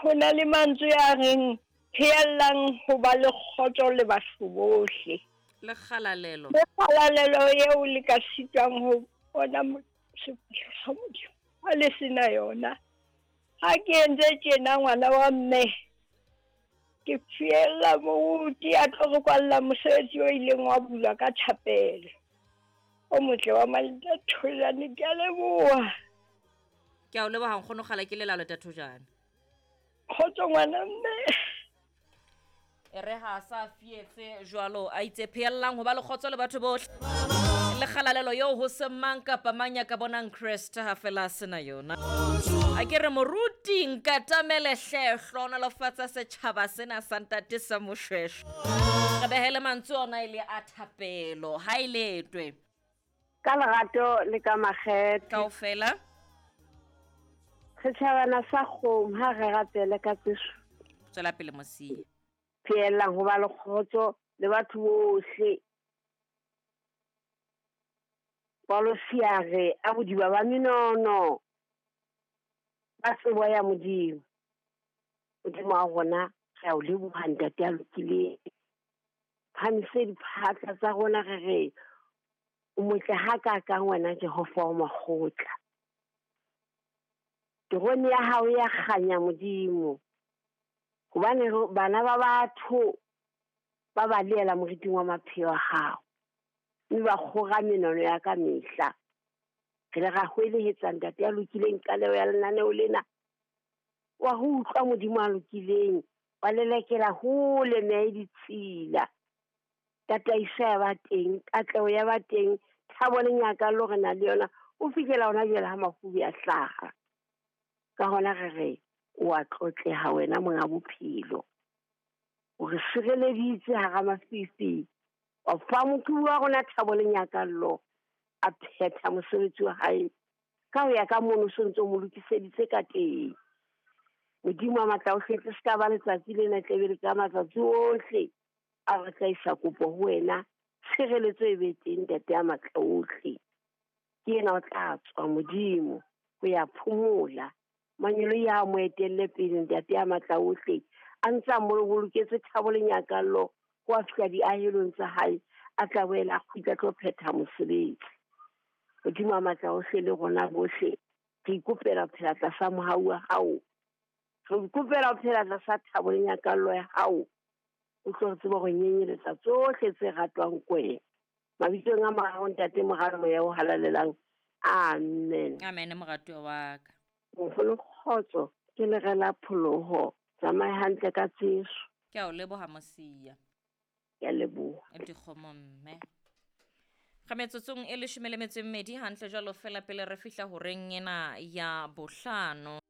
Ho na le mantswe a reng pheellang ho ba le kgotso le batho bohle. Le kgalalelo. Le kgalalelo eo le ka sitwang ho bona sefahleho sa Modimo ha le se na yona. Ha ke entse tjena ngwana wa mme, ke fiella moruti a tlo re kwalla mosebetsi o ileng wa bulwa ka thapelo. O motle wa Maleta Thojane, ke a leboha. Ke a o leboha nkgono kgala ke lelalo ta Thojane. Kgotso ngwana mme. E re ha a sa fietse jwalo a itse pheellang ho ba le kgotso le batho bohle le kgalalelo eo ho se mang kapa mang ya ka bonang Kreste ha fela a sena yona. A ke re moruti nkatamele hle hlohonolofatsa setjhaba sena sa ntate sa Moshweshwe. Re behele mantswe ona e le a thapelo ha e letwe. Ka lerato le ka makgethe. Kaofela. Setjhabana sa kgomo ha re rapele ka tseso. Tswela pele Mosia. Pheellang ho ba le kgotso le batho bohle. Paulosi a re a bodiba ba menono ba tsebo ya Modimo. Modimo wa rona re a o leboha ntate ya lokileng. Phamise diphatla tsa rona re re o motle hakaakang wena Jehova wa makgotla. Terone ya hao ya kganya Modimo. Hobane bana ba batho ba balehela moriting wa mapheo a hao. Mme ba kgora menono ya ka mehla. Re le ra hwelehetsa ntate ya lokileng qaleho ya lenaneo lena. Wa ho utlwa Modimo a lokileng, wa lelekela hole meya e ditshila. Tataiso ya ba teng, katleho ya ba teng, thabo le nyakallo re na le yona ho fihlela hona jwale ha mafubi a hlaha. Ka hona re re o a tlotleha wena monga bophelo. O re sireleditse hara mafifi, wa fa moqhubu wa rona thabo le nyakallo, a phetha mosebetsi wa hae ka ho ya ka mono so ntse o mo lokiseditse ka teng. Modimo wa matla ohle, tle se ka ba letsatsi lena tle be le ka matsatsi ohle a re tla isa kopo ho wena, tshireletso e be teng ntate ya matla ohle. Ke yena o tla tswa Modimo ho ya phomola. Mangeloi a mo etelle pele ntate ya matla ohle, a ntse a mo boloketse thabo le nyakallo ho a fihla diahelong tsa hae, a tla boela a kgutla tlo phetha mosebetsi. Modimo wa matla ohle le rona bohle re ikopela ho phela tlasa mohau wa hao, re ikopela ho phela tlasa thabo le nyakallo ya hao. O tlo re tseba ho nyenyeletsa tsohle tse ratwang ke wena. Mabitsong a morao ntate moralo moya o halalelang. Amen. Amen moratuwa wa ka. Moholo kgotso ke lere la pholoho. Tsamaye hantle ka tseso. Ke a o leboha Mosia. Ke a leboha. Dikgomo mme. Ga metsotsong e leshome le metso e mmedi hantle jwalo fela pele re fihla horeng ena ya bohlano.